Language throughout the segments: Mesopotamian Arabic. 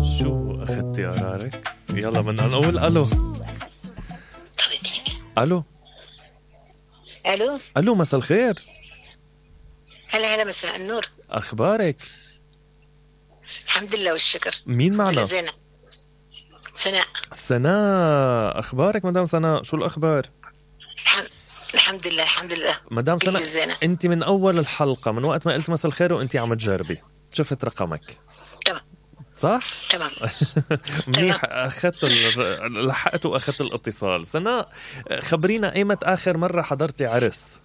شو أخذتي قرارك؟ يلا بدنا نقول ألو. ألو الو. ألو، مساء الخير. هلا هلا، مساء النور. أخبارك؟ الحمد لله والشكر. مين معنا؟ زينة. سناء. سناء، أخبارك مدام سناء؟ شو الأخبار؟ الحمد لله الحمد لله. مدام سناء، أنت من أول الحلقة، من وقت ما قلت مساء الخير وأنت عم تجربي، شفت رقمك. تمام صح؟ تمام. منيح، لحقت وأخذت الاتصال. سناء، خبرينا أيمت آخر مرة حضرتي عرس؟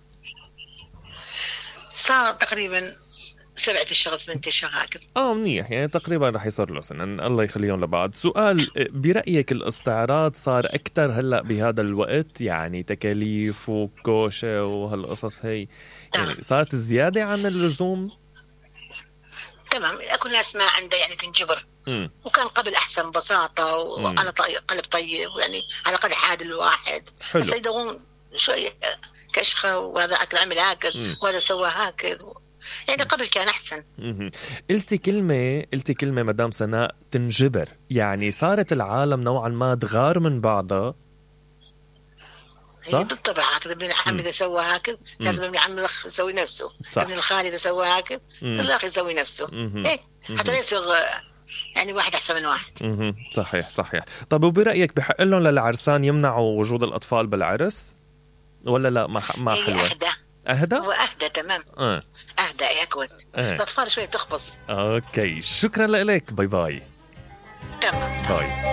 صار تقريبا 7 أشهر 8 أشهر هكذا. منيح، يعني تقريبا رح يصير له سنة، الله يخليهم لبعض. سؤال، برأيك الاستعراض صار أكتر هلأ بهذا الوقت؟ يعني تكاليف وكوشة وهالقصص هي، يعني صارت زيادة عن اللزوم؟ تمام، اكو ناس ما عنده يعني تنجبر. وكان قبل احسن بساطه وعلى قلب طيب، يعني على قد حاد الواحد. بس يدورون شويه كشخه، وهذا اكل عمل هكذا وهذا سوى هكذا، يعني قبل كان احسن. قلتي كلمه مدام سناء، تنجبر، يعني صارت العالم نوعا ما تغار من بعضها. صح؟ بالطبع هكذا. ابن العم اذا سوى هكذا لازم ابن العم الاخ يسوي نفسه. صح. ابن الخال اذا سوى هكذا الاخ يسوي نفسه. ايه، حتى لا يصير يعني واحد احسن من واحد. صحيح. طب وبرايك بحق لهم للعرسان يمنعوا وجود الاطفال بالعرس ولا لا؟ ما حلوه. اهدى هو اهدى. تمام. اهدى يا كويس. الاطفال شويه تخبص. اوكي، شكرا لك. باي باي. تمام. باي.